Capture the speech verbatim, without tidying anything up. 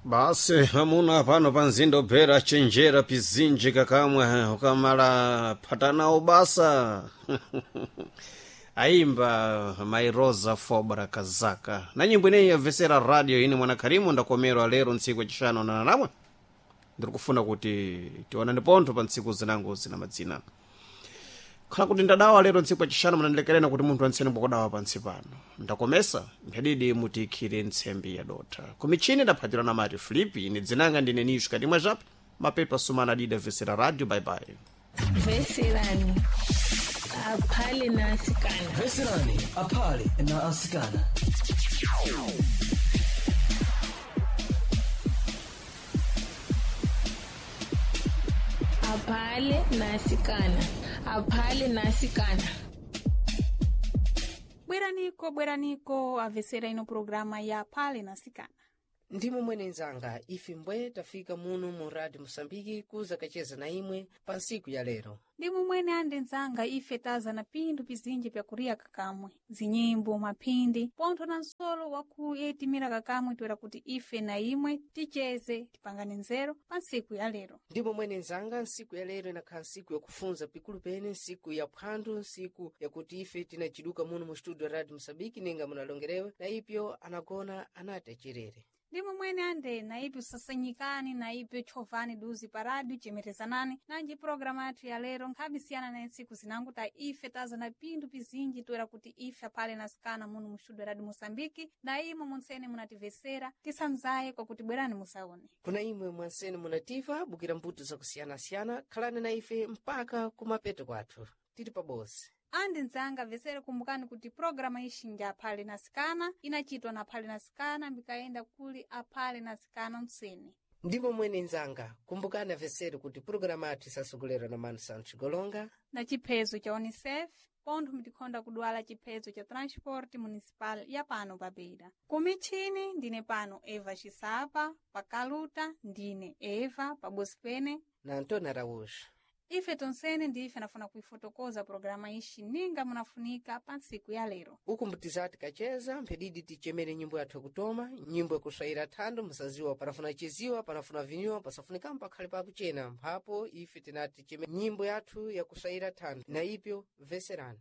Basi amuna pano pa mzinda ubvera chenjera pizinji kakamwe ukamala phatanawo basa. Aimba Mairosa Fobra Kazaka na nyimbo ineyi yabvesera radio ine mwana Karimu ndakomerwa lero ntsiku yacixanu na namwe ndiri kufuna kuti tionane pontho pa ntsiku zinango zina madzina. Khala kuti ndadawa lero ntsiku yacixanu, munandilekerena kuti munthu antsene bwakudawa pantsi pano ndakomesa mphedidi mutiikhire ntsembi yadotha kumichini ndaphatirana na mati Filipi. Ine dzinanga ndine Nisho Katimwa Jape mapepa sumana adida vesera radio. Bye bye. Veserani aphale na asikana. Veserani aphale na asikana. Aphale na asikana, aphale na asikana. Bweraniko, bweraniko avesera ino programa ya Phale na Sikana. Ndimo mwene nzanga, ife mbwe tafika muno mu Radio Moçambique kuza kacheza na imwe pa ntsiku ya lero. Ndimo mwene ande nzanga, ife taza na pinthu pizinji pyakuria kakamwe, zinyimbo, maphindi pontho na nsolo wakuyetimira kakamwe, toera kuti ife na imwe ticheze tipangane nzeru pa ntsiku ya lero. Ndimo mwene nzanga, ntsiku ya lero inakhala ntsiku yakufunza pikulu pene, ntsiku ya phwando, ntsiku yakuti ife tinaciduka muno mu studio Radio Moçambique ninga munalongerewe na ipyo anagona anati acerere. Ndimo mwene ande na ipi usasanyikani na ipi chovani duzi pa radio chemerezanani nanji programa yathu ya lero nkhabisiyana na ntsiku zinango ta ife taza na pinthu pizinji toera kuti ife aphale na sikana muno mu studio Radio Moçambique na imwe muntsene munativesera tisanzaye kwakuti bwerani musaone. Kuna imwe mwansene munativa bukira mbuto zakusiyanasiyana, khalani na ife mpaka kumapeto kwathu tili pabosi. Andi nzanga vesere, kumbukani kuti programa ixinja aphale na sikana inachitwa na aphale na sikana mbikayenda kuli aphale na sikana msene. Ndimo mwene nzanga, kumbukani avesere kuti pulogalamu yathu isasogolerwa na Manu Santos Golonga na chiphezo cha UNICEF pontho mtikhonda kudwala chiphezo cha transport municipal ya pano pabeira. Kumichini ndine pano Eva Xisapa, pakaluta ndine Eva pabosi pene na Antônio Araújo. Ife tonsene ndife nafuna kuifotokoza programa ixi ninga munafunika pa ntsiku ya lero. Uku mbutizati kacheza mphedidi tichemere nyimbo yathu yakutoma, nyimbo yakuswayira thando musaziwa panafuna chiziwa panafuna vinyuwa pasafunika pakhale pakuchena mphapo ife tinati tichemere nyimbo yathu yakuswayira thando na ipyo veserani.